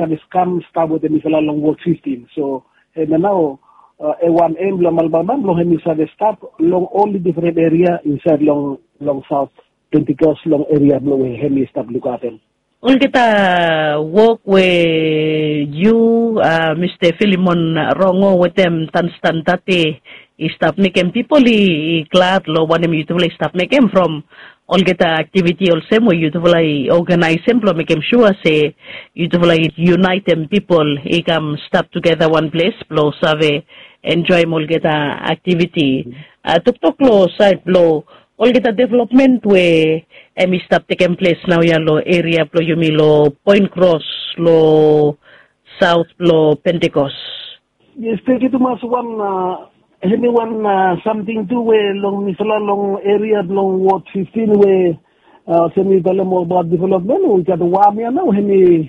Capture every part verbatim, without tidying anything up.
save kam stap wetem mifala long Ward fifteen. So hemia nao, e wan aim blong Alabama blong hemi save stap long ol difren eria insaed long, long South Pentecost, long eria blong we hemi stap lukaotem. Olgeta wok we yu, Mista Filimon Rongo wetem Tanstan Tate i stap mekem pipol i, i glad long wanem yutufala i stap mekem from olgeta aktiviti olsem we yutufala i oganaesem blong mekem sua se yutufala i yunaetem pipol i kam stap tugeta wan ples blong save enjoem olgeta aktiviti. Toktok long saed blong olgeta developmen we hemi stap tekem ples naoia long eria blong yumi long Poen Kros long saot blong Pentekos. Yes, tenkyu tumas. Wan, hemi wan samting tu we long mifala long eria blong Ward fifteen we olsem mi talem abaot developmen, we i gat wan ya nao hemi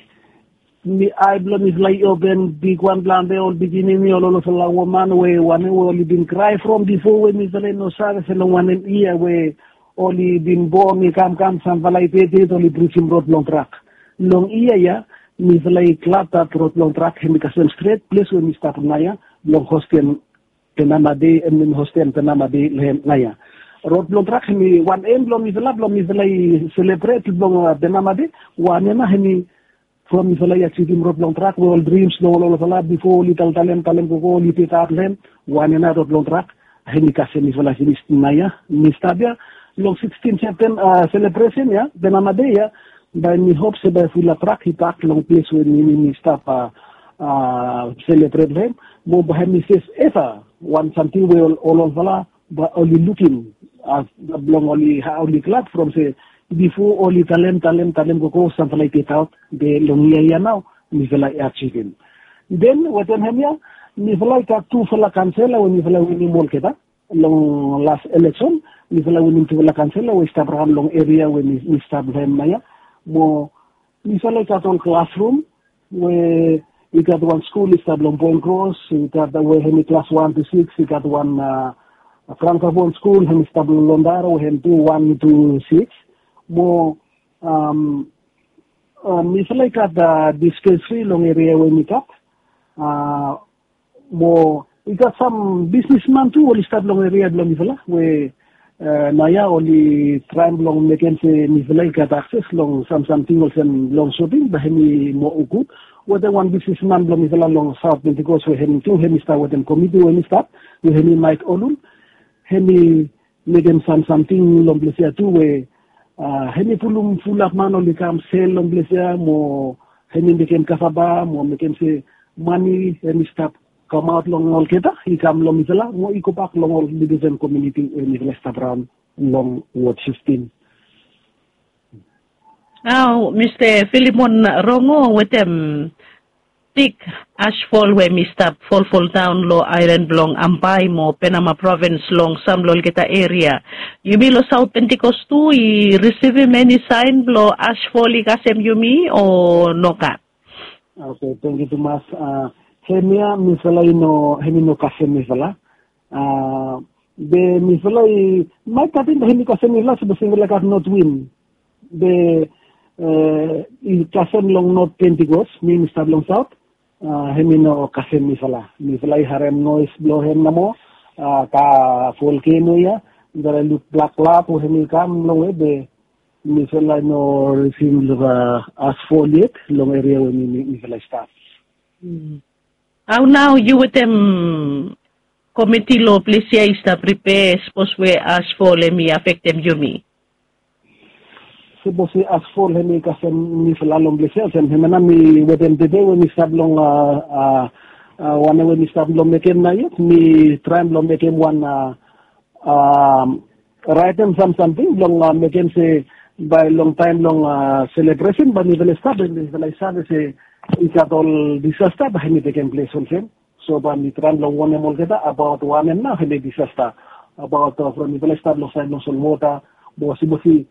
mi ae blong mifala i open bigwan plante, ol pikinini, ol olfala woman we wanem we oli bin krae from bifo we mifala i no save se long wanem yia we oli bin bon i kamkam, samfala i ded, oli brijim rod blong trak. Long yia ya mifala i glad dat rod blong trak hemi kasem stret ples we mi stap naoia blong hostem Penama Dei, em, hemi hostem Penama Dei long hem naoia. Rod blong trak hemi wan aim blong mifala, blong mifala i selebret blong Penama Dei. Wan ya nao hemi from mifala i ajivim rod blong trak we ol drims blong ol olfala bifo oli taltalem, talem gogo, oli petaot long hem. Wan ya nao rod blong trak hemi kasem mifala finis naoia. Mi stap ya long sixteen Septemba, selebresen ya, Penama Dei ya, bae mi hop se bae fulap trak i pak long ples we mi, mi, mi stap selebret long hem. Mo bae hemi sefeva wan samting we ol, ol olfala bae oli lukim blong oli, oli glad from se bifo oli talem, talem, talem gogo, samfala i petaot, be long yia ya nao mifala i ajivim. Den wetem hemia mifala i gat tufala kaonsela we mifala i winim olgeta. Long las eleksen mifala i winim tufala kaonsela we i stap raon long eria we mi, mi stap long hem naoia. Mo mifala i gat ol klasrum we i gat wan skul i stap long Poen Kros, i gat we hemi klas wan tu sikis, i gat wan frankofon skul hemi stap long Londara we hem tu wan tu sikis. Mo mifala i gat dispensari long eria we mi gat. Mo i gat sam bisnisman tu oli stap long eria blong mifala we naoia oli traem blong mekem se mifala i gat akses long sam, samting olsem long soping, bae hemi moa gud. Wetem wan bisnisman blong mifala long Saot Pentekos we hemi tu hemi stap wetem komiti we hemi stap, we hemi Maek Olul, hemi mekem sam, samting long ples ya tu we hemi pulum fulap man oli kam sel long ples ya mo hemi mekem kasava mo mekem se mane hemi stap kamaot long olgeta i kam long mifala mo i gobak long ol difren komuniti we mifala i stap raon long Ward fifteen. Nao Mista Filimon Rongo, wetem big asfol we mi stap folfoldaon long aelan blong Ambae mo Penama provins long sam long olgeta eria, yumi long Saot Pentekos tu i risivim eni saen blong asfol i kasem yumi o nogat? Oke, tenkyu tumas. Hemia mifala i no, hemi no kasem mifala. Be mifala i, maet katen be hemi kasem mifala sapos mifala i gat not win. Be i kasem long Not Pentekos, mi mi stap long Saot. Hemi no kasem mifala. Mifala i harem noes blong hem nomo. Kaka volkeno ya, mifala i luk blak klad we hemi kam longwe, be mifala i no risivim long asfol yet long eria we mi, mi, mifala i stap. Hao nao yu wetem komiti long ples ya i stap pripea sapos we asfol hemi afektem yumi? Sapos we asfol hemi kasem mifala long ples ya, olsem hemia nao mi wetem tede we mi stap long, wanem we mi stap long mekem nao yet, mi traem long mekem wan, raetem sam, samting blong mekem se bae long taem blong selebresen bae mifala i stap, bae mifala i save se i gat ol disasta bae hemi tekem ples olsem. So bae mi traem long wonem olgeta abaot wanem nao hemi disasta. Abaot from mifala i stap long saed long solwota, mo sapos i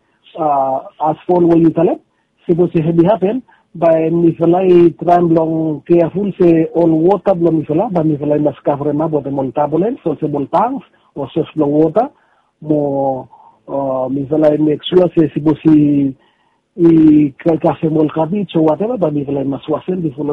asfol we yu talem, sapos hemi hapen, bae mifala i traem long keaful se ol wota blong mifala, bae mifala i mas kavremap wetem ol tabolens olsem ol tanks o sos blong wota, mo mifala i mek sua se sapos i i kasem ol kabij o wateva bae mifala i mas wasem bifo long